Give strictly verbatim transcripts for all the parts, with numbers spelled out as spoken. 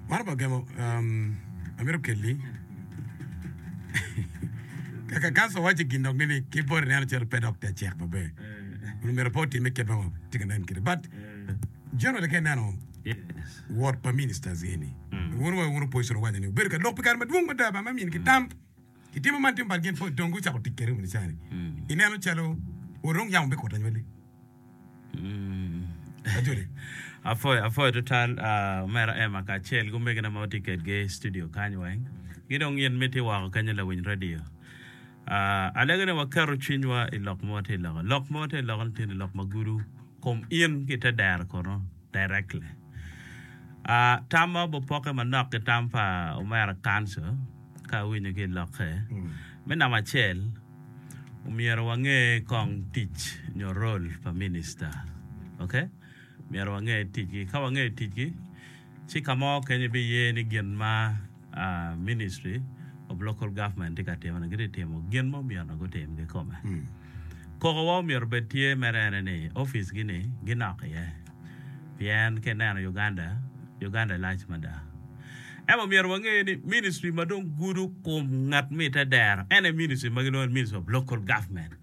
Wan pa gemo um, amito kelli kaka kanso waco gin dok nini ki boti neno calo pe dok te cek maber myero pe otime kit ma tye ka nen kede but generally ka ineno Yes. wot pa ministers eni wun wa wun opposition owaco ni obedo ka lok pi kare madwong mada ba ma min ki tam kitimo man timo bal gin po dong gucako tic kede wuni cani ineno calo orong yamo bikuto anywali ajoli Afoy afoy total uh, omera Emma kacel gumegina ma watye kedgi i studio kany weng gi dong in miti woko kenyo lawiny radio uh, alego ni waketo cwinywa i lok ma watye i loko lok ma watye i loko ni tye ni lok ma gudo kom in ki te dero kono directly uh, tam ma obopoke manok ki tam pa omera council ka awinyo ki i lokke me namba acel omyero wange kong tic nyo role pa minister okay myero wange ticgi ka wange ticgi ci ka mo kenyo biye ni gin ma uh, ministry of local government tye ka timone gitye timo gin ma omyero gutim kikome koko wa omyero bed tye mere ene ni office gi ni ginok iye pien ka ineno Uganda Uganda lac mada ema myero wange ni ministry ma dong gudo kom ngat ma ite dero ene ministry ma gilwongo ni ministry of local government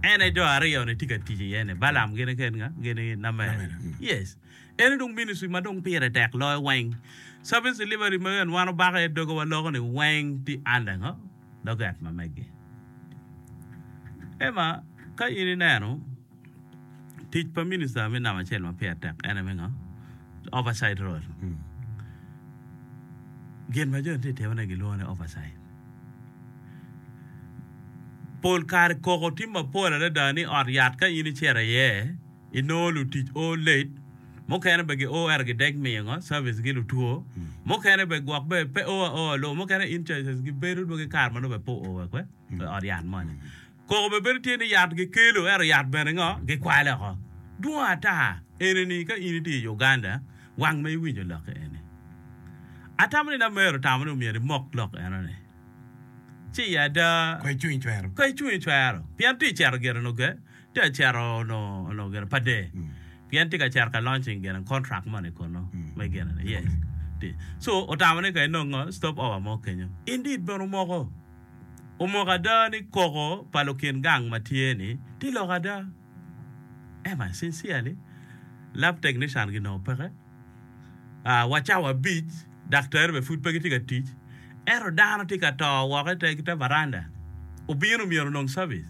ene jo aryo ni tye ka tic iye ni Balam gini ken nga gini Namere yes ene dong ministry ma dong pire tek loyo weng service delivery ma en wan obako iye dogo waloko ni weng tye under ngo doget ma megi ema ka in ineno tic pa minister me namba acel ma pire tek ene me ngo oversight role gin ma jo tye timone gilwongo ni oversight pol kare koko tye mapol adada ni ot yat ka in icito iye inongo lutic o late mukene be gio ento gidek miyo ngo service gi lutwo mukene be gwok be pe o aoa lo mukene in charges gibedo dwogi kare ma nongo be pe oo wek we ot yat moni koko be bedo tye ni yat gikelo ento yat bene ngo gikwalo oko dwong ata enini ka in itye i Uganda wang ma iwinjo lokke eni atamo ni namero tamo ni omyero imok lok enoni ci i ada ko icung icwero ka icung icwero pien tye icito gire no ge tye acito no no gire pa de pien tye ka cito ka launching gire contract moni kono me gire ni yes Tye. so otamo ni ka inongo stop over mo kenyo indeed bene omoko omoko ada ni koko pa lukin gang ma tye ni tye lok ada ema sincerely lab technician ginongo peke uh, wa cawa abic daktari be pud pe gitye ka tic ento dano tye ka to woko i te, te varanda obino myero onong service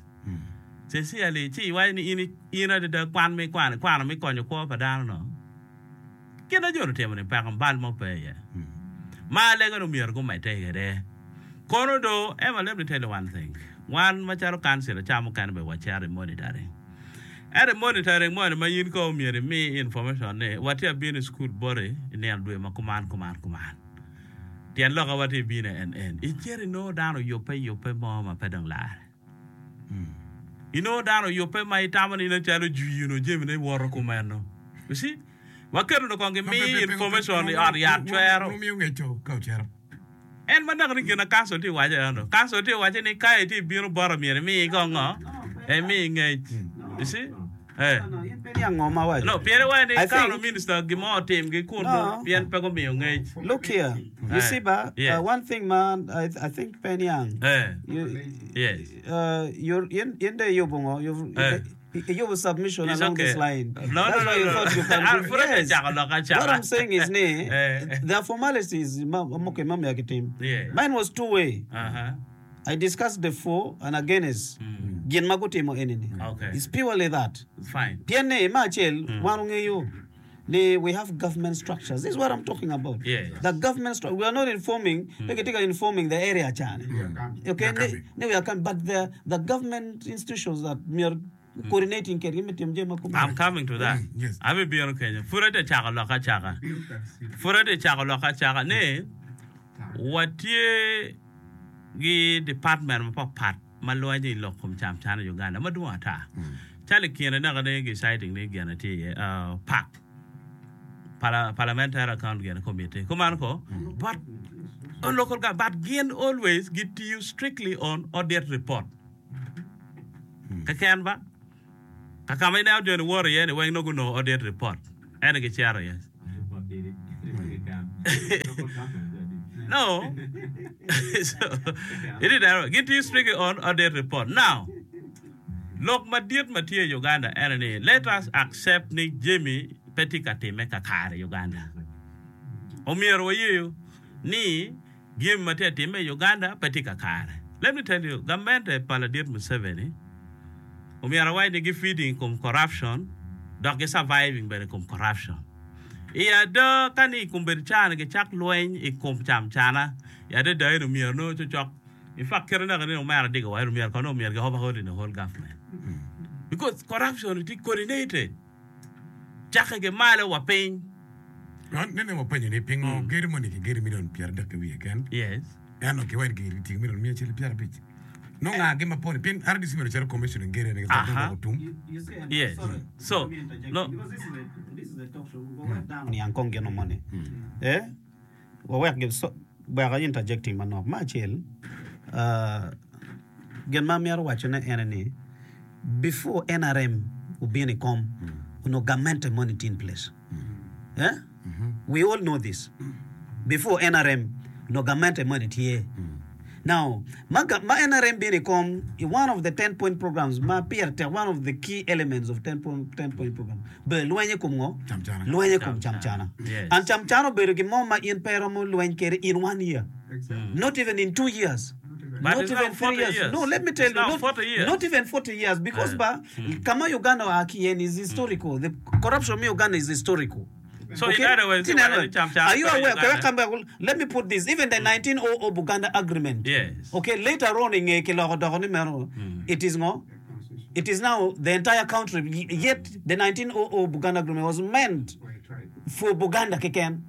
sincerely ci iwaco ni in, in adada kwan mi kwano kwano mi konyo kwo pa dano no gin na jo otimo ni peko bal mo pe iye ma alego ni myero gumedde kwede kono do ema let me tell you one thing wan macalo council ca mukene be wacito i monitoring ento i monitoring moni ma in ko myero imi information ni watye abino i school boti i nino dwe ma kuman kuman kuman tyen loka watye bino en en icito inongo dano oyubbe yubbe mo ma pe dong lare inongo dano oyubbe ma itamo ni nen calo jwino jamine woto kumeno you see waketo no kong gimi information i ot yat cwero miyo ngeco ka ocito en ma naka ni gin na council tye waco eno council tye waco ni ka itye bino bota myero imi kong ngo emi ngec you see eh In pe niang ngo ma awaco. no pien iwaco ni I ka think- minister gimo otim gi kun No. pien pe gumiyo ngec Look here. You Eh, see, ba, yes. uh, one thing, man, I, I think Penyang. eh You, yes uh, you're in in the yubungo. You've Eh. you have submission It's along okay. this line. No, no, That's no, why you no. thought you can. Ah, put it yes. chako loka chaka. What I'm saying is, ne, Eh. there are formalities. ma- okay, ma- ma- team. Yeah. Mine was two way. uh-huh I discussed the for and against. Gin magutimo enini. Okay. It's purely that. it's fine Pien ne ma achiel wan ong'eyo ni we have government structures. This is what I'm talking about. Yes. The government structure. We are not informing. Mm. informing the area chane. Okay, We are ne, coming. ne we are coming, but the the government institutions that we are coordinating kedgi me timo jami ma kumeno. I'm coming to that. Mm, yes. Abi bino kenyo. Pud ate chako loka chaka. Pud ate chako loka chaka ni watye gi department mapapat ma lwenyo i lok kom cam can i Uganda madwong ata. Calo i kine naka ni gi citing ni gin tye iye uh, PAC Parla- Parliamentary Account gin Committee. Kumano ko but on local government but gin always gitiyo strictly on audit report. Keken ba kakama ineno joni woro iye ni weng nongo gunongo audit report ene gicero iye. No. So, it is there. Gitye strictly on audit report. Now, lok madit ma tye i Uganda ene ni let us accept ni jami pe tye ka timme kakare i Uganda. Omyero wayeyo ni jami ma tye ka timme i Uganda pe tye kakare. Let me tell you, gamente pa ladit Museveni omyero awac ni gi feeding i kom corruption dok gi surviving bene i kom corruption. I ada ka ni i kombeddi caa-ni gicak lweny i kom camcana, i adada eni omyero nongo cocok in fact kite naka ni omera digo wa eni omyero kono omyero gi overhaul in the whole government because corruption tye coordinated cakke ki malo wa piny. Nene wapenyo ni pingo gedo moni kigedo milion pyeradek ki wiye keken? Yes. Ento kiwaco ni kitiyo ki milion miya acel ki pyerabic. Nongo ngagi ma poni? Pien R D C myero ocit commission gedo eni Aha. dong otum. Yes. So, no. Niang kong gin moni. Eh, wawek gi so, wek a interjecting manok. Me acel, ah, gin ma amito wacone ene ni, before N R M obino i kom, onongo gamente moni tye in place. Eh? We all know this. Before N R M, onongo gamente moni tye. Now, ma, ga- ma N R M bino i kom, i one of the ten point programs ma pire tek, one of the key elements of ten point, ten point program, obedo lweny i kom ngo? Camcana. Lweny i kom camcana. Yes. And camcana obedo gin mo ma in pe iromo lweny kwede in one year. Not even in two years. But Not it's now even three forty years. years. No, let me tell It's you. now Not, forty years. not even forty years. Because Eh. ba, kama Uganda oa ki iye ni is historical. The corruption me Uganda is historical. So in other words, Tin you anyway, want to chamchana are you for aware? Uganda? Come back, let me put this. Even the nineteen oh oh Buganda Agreement. Yes. Okay, later on in kiloko doko ni meno, it is ngo. It is now the entire country. Yet the nineteen oh oh Buganda Agreement was meant for Buganda keken.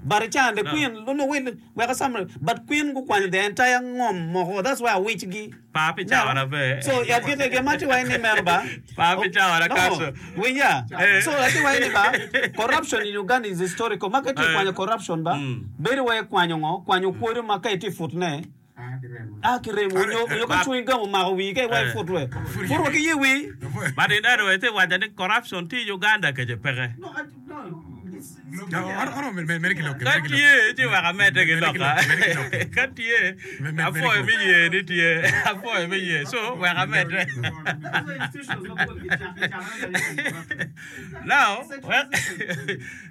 But chan the No. queen, no, no, wait, wait a summary. But queen gukwanyo the entire ngom moko. That's why awich gi. Pa pi cawa pe. So ya gite ge mati wa ni mero ba. Pa pi cawa na No, kaso. winya. Eh. So ati wa ni ba corruption in Uganda is historical. Maka ti Eh. kwanyo corruption ba. Mm. Beri wa kwanyo ngo, kwanyo kwodo maka iti futne. Ah kiremo nyo nyo ka Ba- chewing gum omako wii ka iwa Eh. ifut we. Fut ki ye wii. But in other words, waco ni corruption tye i Uganda kece peke. No, I, no. It's, it's, No, oro mere ki lok. Ka tye ci wek amedde ki Mere ki loka. lok, mere ki lok. Ka tye Me- me- apwoyo mere me ki ye ni tye apwoyo me ye so wek amedde. Now, wek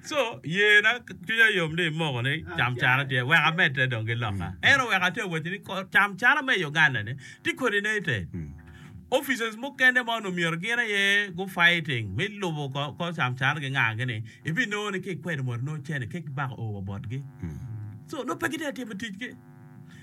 so ye na cwinya yom ni imoko ni camcana tye wek amedde dong ki loka. Ento wek atye waco ni ko- camcana me Uganda ni tye coordinated. Officers mukene ma onongo myero gin aye gu fighting me lubo ko ko camcana ki nga gini ibinongo ni ki ikwedo mot nongo cene ke kibako o wa botgi. So nongo pe gitye ka timo ticgi.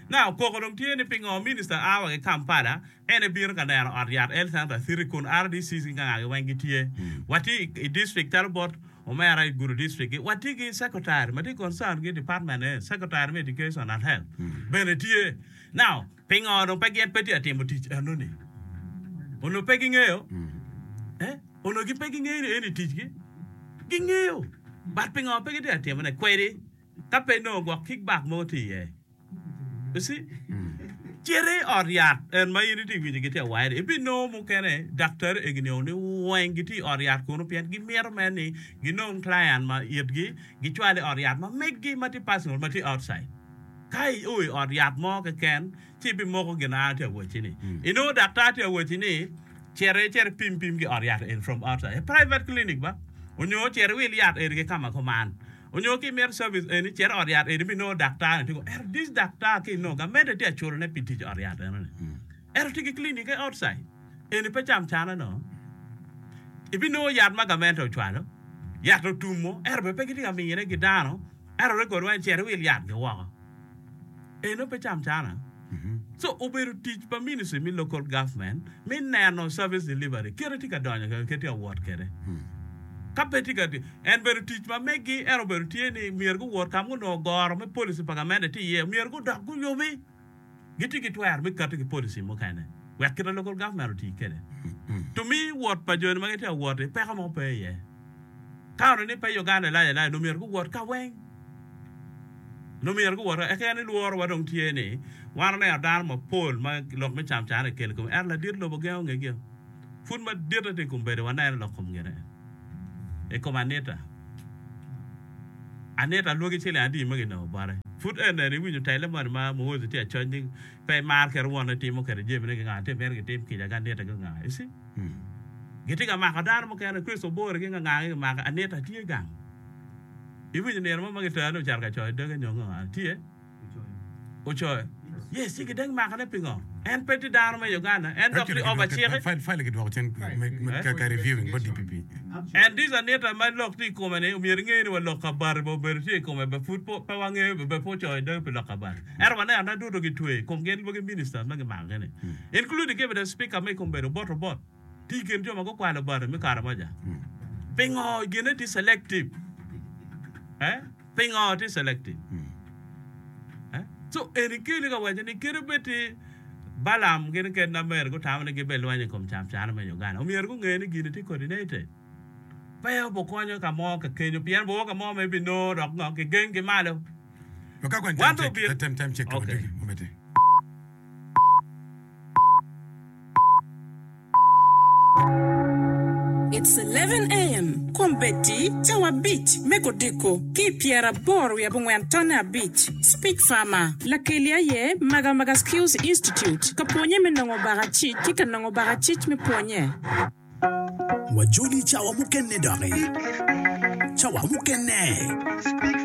Now koko dong tye ni pingo minister awa ki Kampala en ebino ka neno ot yat health center city kun R D Cs ki nga weng gitye. Watye i, i district calo bot omera i Gulu district gi watye ki secretary ma tye concerned ki department eh, secretary me education and health bene tye. Now pingo dong pe gin pe tye ka timo tic enoni? Onongo pe gingeyo? Eh? Onongo gi pe gingeyo ni eni ticgi? Gingeyo. But pingo pe gitye ka timone? Kwedi ka pe nongo gwok kickback mo tye iye. You see? Cit i ot yat en ma in itye winyo gitye ka waco ni ibinongo mukene daktari egi nio ni weng gitye i ot yat kunu pien gimito mere ni ginong client ma itgi gicwal i ot yat ma meggi ma tye personal ma tye outside. Ka io i ot yat mo keken ci ibimoko gin an atye ka wacci ni. Inongo daktar tye ka wacci ni cit icit ipim pim ki ot yat eni from outside. A private clinic ba. Onyo cit iwil yat eni ki kama kuman. Onyo ki imito service eni cit i ot yat eni ibinongo daktar ni tye ko ento this daktar ki inongo gamente tye ka culone pi tic i ot yat enoni. Ento tye ki clinic e outside. Eni pe camcana no. Ibinongo yat ma gamente ocwalo, yat otumo, ento bene pe gitye ka mine ki dano, ento record weng cit iwil yat gi woko. Eno pe camcana. So obedo tic pa ministry me local government me neno service delivery kite tye ka donyo kede kite tye ka wot kede. Ka pe tye ka en bedo tic ma meggi ento obedo tye ni myero guwot ka ma gunongo goro me policy pa gamente tye iye myero gudok guyubi gitye ki twero me kati ki policy mukene wek kite local government oti kede. To me wot pa joni ma gitye ka wot-ti peko mo pe iye. Ka ono ni pe Uganda lac alac nongo myero guwot ka weng. Nongo myero guwot ka eka ni lworo wa dong tye ni wan oneno dano mapol ma lok me camcana ekelo i kome ento ladit lobo gengo ngegio. Pud madit ati i kom bedo waneno lok kom ngene i kom Anita. Anita lwogi ciling adi ma ginongo bote? Pud en nene iwinyo tele moni ma Muhoozi tye acoc ni pe emar kit wonne timo kwede jamine ki nga tye mito gitim kica ki Anita ki nga. You see? Gitye ka mako dano mukene, Chris Obore ki nga nga gi kimako, Anita tye gang. Iwinyo nino mo ma gitero ni ocito ka coyo doge nyo ngo? Tye? Ocoyo. Yes, ci gideng makone pingo? En pe tye dano me Uganda. En dok tye over cik. File gidwoko cen ka reviewing bot DPP. And this Anita ma lok tye i kome ni omyero inge ni wa lok ka bati bene obedo tye i kome be pud pe wangeyo be pe ocoyo doge pi lok ka bati. Ento waneno ne duto gitweyo i kom gin lwagi ministers ma gimako gi ni including ki bene speaker ma i kom bedo bot obot tye i kin jo ma gukwalo bati me Karamoja. Pingo gine tye selective? Eh? Pingo tye selective? Eh? So eni keli ka waco ni kadi bed ti Balaam gin ked Namer gutamo ni gibelwenyo i kom camcana me Uganda, omyero gunge ni gini tye coordinated. Pe obukonyo ka mo ka kenyo pien boo ka mo ma ibinongo dok ngo kigeng ki malo. Wan dong obino. Okay. It's eleven AM, Kombeddi, cawa abic me kodiko ki i pyeraboro wiye abongwen tonne abic. Speech Farmer, Lakeli aye Magamaga Skills Institute, ka pwonye me nongo bakacic ki ka nongo bakacic me pwonye. Wajoli cawa mukene doki. Cawa mukene.